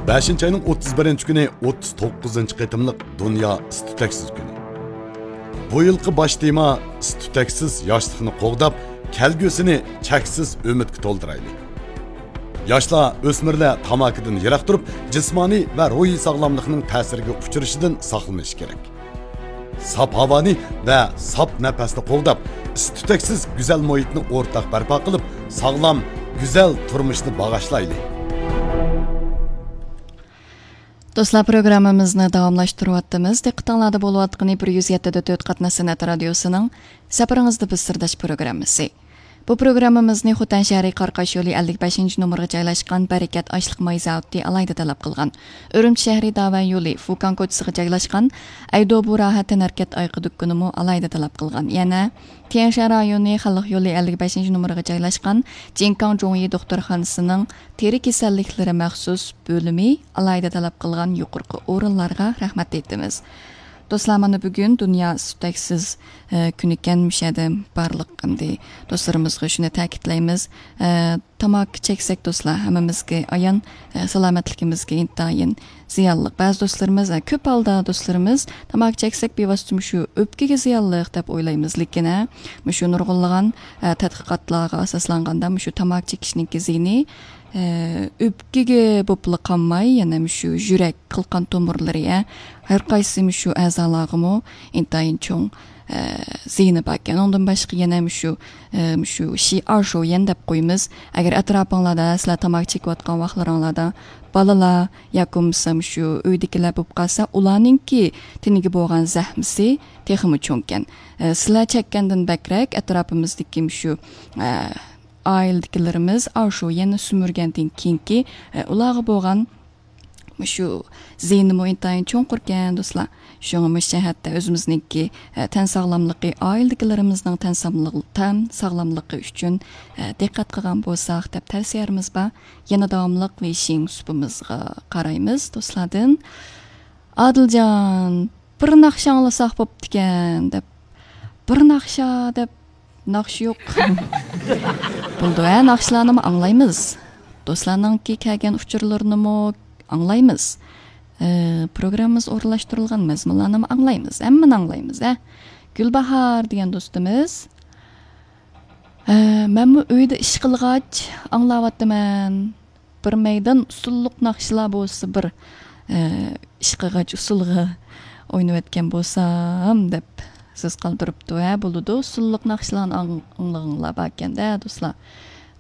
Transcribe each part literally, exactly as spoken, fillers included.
بەشىنچى ئاينىڭ ئوتتۇز بىرىنچى كۈنى ئوتتۇز توققۇزىنچى قېتىملىق دۇنيا ئىس-تۈتەكسىز كۈنى. بۇ يىلقى باش تېما ئىس-تۈتەكسىز ياشلىقنى قوغداپ، كەلگۈسىنى چەكسىز ئۈمىدكە تولدۇرايلى. ياشلار، ئۆسمۈرلەر تاماكىدىن يىراق تۇرۇپ، جىسمانىي ۋە روھىي ساغلاملىقنىڭ تەسىرىگە ئۇچرىشىدىن ساقلىنىشى كېرەك. ساپ ھاۋانى ۋە ساپ نەپەسنى قوغداپ، ئىس-تۈتەكسىز گۈزەل مۇھىتنى ئورتاق بەرپا قىلىپ، ساغلام، گۈزەل تۇرمۇشنى باغاشلايلى. دوستلار، پروگراممىمىزنى داۋاملاشتۇرۇۋاتىمىز. دىققىتىڭلاردا بولۇۋاتقىنى بىر يۈز يەتتە دە تۆت قاتناش سەنئەت رادىيوسىنىڭ سەپىرىڭىزدە بىز سىرداش پروگراممىسى. بۇ پروگراممىمىزنى خوتەن شەھىرى قاراقاش يولى ئەللىك بەشىنچى نومۇرغا جايلاشقان بەرىكەت ئاشلىق ماي زاۋۇتى ئالاھىدە تەلەپ قىلغان. ئۈرۈمچى شەھىرى داۋەن يولى فۇكاڭ كوچىسىغا جايلاشقان ئەيدوبۇ راھەت تەنھەرىكەت ئايىغى دۇكىنىمۇ ئالاھىدە تەلەپ قىلغان. يەنە تيەنشان رايونى خەلق يولى ئەللىك بەشىنچى نومۇرغا جايلاشقان جىنكاڭ جۇڭيى دوختۇرخانىسىنىڭ تېرە كېسەللىكلىرى مەخسۇس بۆلۈمى ئالاھىدە تەلەپ قىلغان يۇقىرىقى ئورۇنلارغا رەھمەت ئېيتىمىز. دوستلار، مانا بۈگۈن دۇنيا ئىس-تۈتەكسىز، ئە، كۈنىكەن. مۇشۇ يەردە بارلىق ئەمدى دوستلىرىمىزغا شۇنى تەكىتلەيمىز. ئە، تاماكا چەكسەك، دوستلار، ھەممىمىزگە ئايان، ئە، سالامەتلىكىمىزگە ئىنتايىن زىيانلىق. بەزى دوستلىرىمىز، ئە، كۆپ ھالدا دوستلىرىمىز تاماكا چەكسەك، بىۋاسىتە مۇشۇ ئۆپكىگە زىيانلىق دەپ ئويلايمىز. لېكىن، ئە، مۇشۇ نۇرغۇنلىغان، ئە، تەتقىقاتلارغا ئاساسلانغاندا، مۇشۇ تاماكا چېكىشنىڭكى زىيىنى ئە، ئۆپكىگە بولۇپلا قالماي، يەنە مۇشۇ يۈرەك، قىلقان تومۇرلىرى، ئە، ھەر قايسى مۇشۇ ئەزالارغىمۇ ئىنتايىن چوڭ، ئە، زىيىنى باركەن. ئۇنىڭدىن باشقا يەنە مۇشۇ، ئە، مۇشۇ شىئار شويەن دەپ قويىمىز. ئەگەر ئەتراپىڭلاردا سىلەر تاماكا چېكىۋاتقان ۋاقىتلىرىڭلاردا بالىلار ياكى بولمىسا مۇشۇ ئۆيدىكىلەر بولۇپ قالسا، ئۇلارنىڭكى تېنىگە بولغان زەخمىسى تېخىمۇ چوڭكەن. ئە، سىلەر چەككەندىن بەكرەك ئەتراپىمىزدىكى مۇشۇ، ئە، ئائىلىدىكىلىرىمىز ئاشۇ يەنە سۈمۈرگەندىن كېيىنكى، ئە، ئۇلارغا بولغان مۇشۇ زىيىنىمۇ ئىنتايىن چوڭقۇركەن، دوستلار. شۇڭا مۇشۇ جەھەتتە ئۆزىمىزنىڭكى، ئە، تەن ساغلاملىقى، ئائىلىدىكىلىرىمىزنىڭ تەن ساغلاملىقى، تەن ساغلاملىقى ئۈچۈن، ئە، دىققەت قىلغان بولساق دەپ تەۋسىيەمىز بار. يەنە داۋاملىق ۋېيشىڭ سۇپىمىزغا قارايمىز، دوستلاردىن. ئادىلجان، بىر ناخشا ئاڭلىساق بوپتىكەن دەپ. بىر ناخشا دەپ، ناخشا يوق. بولىدۇ ھە، ناخشىلارنىمۇ ئاڭلايمىز. دوستلارنىڭكى كەلگەن ئۇچۇرلىرىنىمۇ ئاڭلايمىز. ئى، پروگراممىمىز ئورۇنلاشتۇرۇلغان مەزمۇنلارنىمۇ ئاڭلايمىز. ھەممىنى ئاڭلايمىز ھە. گۈلباھار دېگەن دوستىمىز، ئى، مەنمۇ ئۆيدە ئىش قىلغاچ ئاڭلاۋاتىمەن. بىر مەيدان ئۇسسۇللۇق ناخشىلار بولسا بىر، ئە، ئىشقىغاچ ئۇسسۇلغا ئوينىۋەتكەن بولسام دەپ سۆز قالدۇرۇپتۇ. ھە، بولىدۇ. ئۇسسۇللۇق ناخشىلارنى ئاڭ-، ئاڭلىغىڭلار باركەن-دە، دوستلار.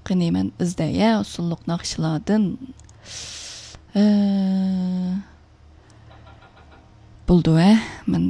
قېنى، مەن ئىزدەي، ھە، ئۇسسۇللۇق ناخشىلاردىن. ئە، بولىدۇ، ھە. مەن